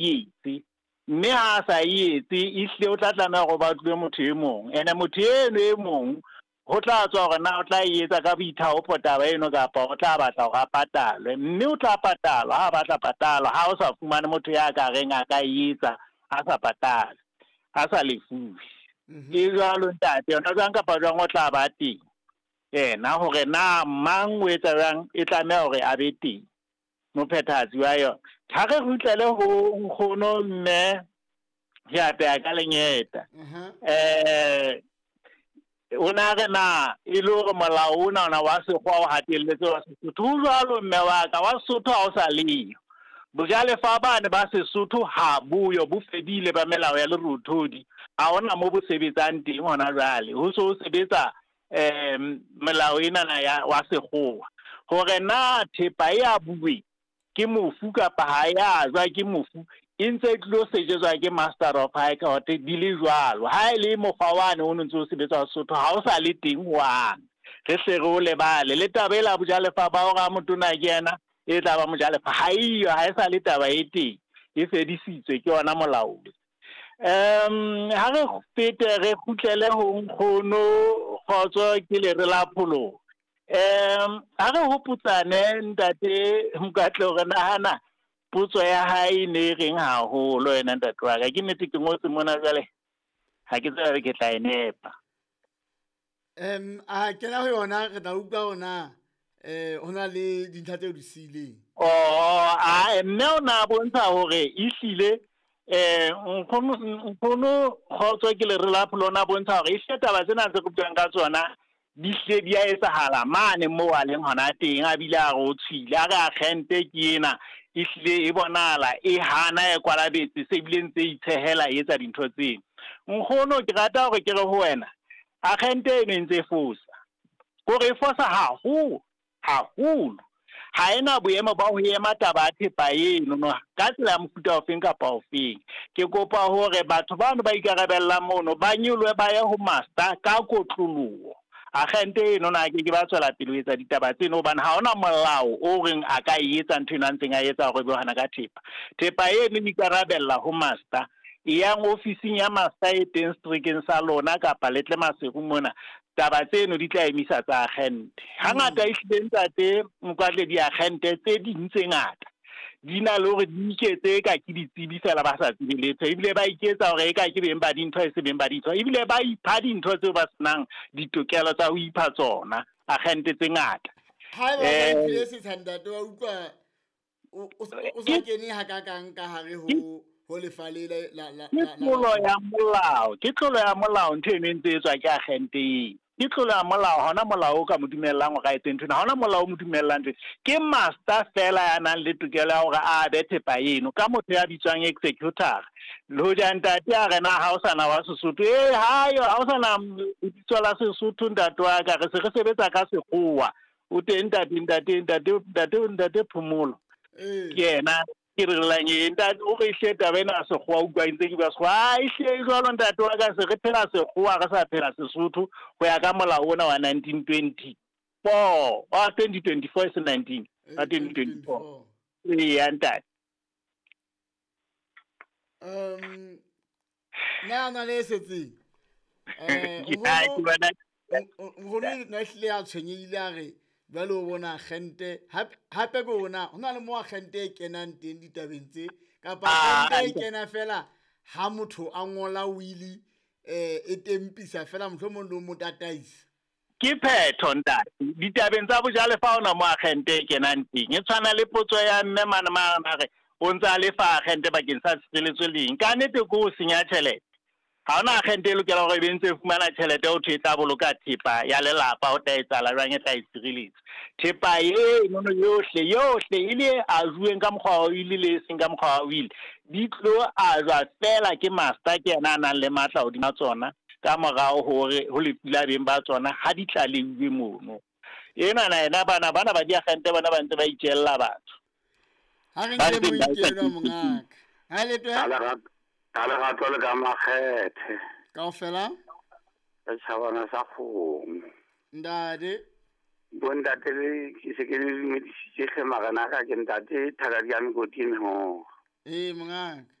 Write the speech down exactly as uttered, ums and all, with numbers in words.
etse. Mme ha a sa e etse, ehlile o tla tlameha hore ba tlohe motho e mong. Ene motho eno e mong ho tla tswa hore na o tla e etsa ka boithaopo taba eno kapa o tla batla hore a patalwe. Mme o tla patalwa ha a batla patalwa, ha o sa fumane motho ya ka reng a ka e etsa a sa patale, a sa lefuwe. Ke jwalo ntate, yona jwang kapa jwang o tla ba teng. Yena hore na mang o etsa jwang, e tlameha hore a be teng mophethahatsi wa yona. Ha re kgutlele ho nkgono mme ke apeha ka lengeta. Eh o na re na e le hore molao ona ona wa sekgowa o hatelletse wa Sesotho. Ho jwalo mme wa ka, wa Sesotho ha o sa leyo. Bojalefa bane ba Sesotho ha boyo, bo fedile ba melao ya lerothodi. Ha hona mo bo sebetsang teng hona jwale. Ho so sebetsa eh melao ena na ya wa sekgowa. Hore na thepa e abuwe ke mofu kapa ha ya jwa ke mofu, e ntse e tlo sejetswa ke Master of High Court di le jwalo. Ha e le mokgwa wane o ntse o sebetsa wa Sesotho ha o sa le teng hwang. Re hle re o lebale. Le taba ela bojalefa ba hore a motona ke yena e tla ba mojalefa, ha eyo, ha e sa le taba e teng, e fedisitswe ke yona molao. Um ha re fete re kgutlele ho nkgono Kgotso ke lere la pholoho. Um ha re hopotsane ntate Mokatle hore nahana potso ya hae ne e reng haholo yena ntate wa ka. Ke nnete ke ngotse mona jwale, ha ke tsebe ke tla e nepa. Um a kena ho yona re tla utlwa hore eh ho na le dintlha tseo di siileng. Oh, a mme o na bontsha hore ehlile eh nkgono nkgono Kgotso ke lere la pholoho na bontsha hore ehlile taba tsena tse re buang ka tsona di hle di a etsahala mane moo a leng hona teng. A bile a re o tshwile, a re agente ke ena ehlile e bonahala e hana e kwalabetse, se bile ntse e itshehela e etsa dintho tseno. Nkgono ke rata hore ke re ho wena, agente eno e ntse e fosa, kore e fosa haholo haholo. Ha ena boemo ba ho ema taba ya thepa eno no ka tsela ya mofuta ofeng kapa ofeng. Ke kopa hore batho bano ba ikarabellang mono ba nyolohe ba ye ho master ka kotloloho. Agente eno na ke ke ba tswela pele ho etsa ditaba tseno, hobane ha hona molao o reng a ka e etsa ntho eno a ntseng a etsa hore be hana ka thepa. Thepa eno e ikarabella ho master. E yang ofising ya master e teng seterekeng sa lona kapa le tle Maseru mona, taba tseno di tla emisa tsa agente. Hangata ehlile ntate Mokwatle, diagente tse ding tse ngata di na le hore di iketse eka ke ditsebi fela ba sa tsebe letho, ebile ba iketsa hore eka ke beng ba dintho e se beng ba dintho, ebile ba ipha dintho tseo ba senang ditokelo tsa ho ipha tsona, agente tse ngata. Haeba ba iphile setsha ntate wa utlwa o o sa kene hakakang ka hare ho ho lefa le la la la tlolo ya molao. Ke tlolo ya molao ntho eno e ntse e tswa ke agente eo. Ke tlolo ya molao, ha hona molao o ka mo dumellang hore a etse ntho ena, ha hona molao o mo dumellang ntho. Ke master fela ya nang le tokelo ya hore a abe thepa eno ka motho ya bitswang executor. Le hoja ntate a re na ha o sana wa Sesotho, eh hayo ha o sana lebitso la Sesotho ntate wa ka, re se re sebetsa ka sekgowa. O teng ntate, ntate, ntate, ntate, ntate Phomolo. Ke yena ke re lang e ntate o re hle taba ena sekgowa, utlwa ntse ke bua sekgowa. Ah, ehlile jwalo ntate wa ka, se re phela sekgowa re sa phela Sesotho ho ya ka molao ona wa nineteen twenty four, wa twenty twenty four e se nineteen, wa twenty twenty four. Eya ntate. Um na na le setseng. Eh nkgono na hlile a tshwenyehile a re jwale o bona agente hape hape ke ona ho na le mo agente e kenang teng ditabeng tse, kapa agente e kena fela ha motho a ngola wili eh e tempisa fela mohlomong le mo tataisa. Ke phetho ntate. Ditabeng tsa bojalefa hona mo agente e kenang teng. E tshwana le potso ya mme mane mane re o ntse a lefa agente bakeng sa tshireletso leng. Ka nnete ke ho senya tjhelete. Ha hona agente e lokela hore e be ntse e fumana tjhelete ho thwe e tla boloka thepa ya lelapa ho tla etsahala jwang e tla e tshireletsa. Thepa eno yohle yohle e le e ajuweng ka mokgwa wa wili le e seng ka mokgwa wa wili, di tlo ajwa fela ke master, ke yena a nang le matla hodima tsona ka morao hore ho lefu la beng ba tsona ha di tlaleuwe mono. Ena na ena bana bana ba diagente bana ba ntse ba itjella batho. Ha re nke moikelo mongaka. Ha le twe? Ka lerato le ka makgethe. Kaofela? Setjhabana sa kgomo. Ntate. Bontate le ke se ke le dumedisitse hle marena ka ke ntate Thakadi ya Mekoti Mehoro. Ee, mongaka.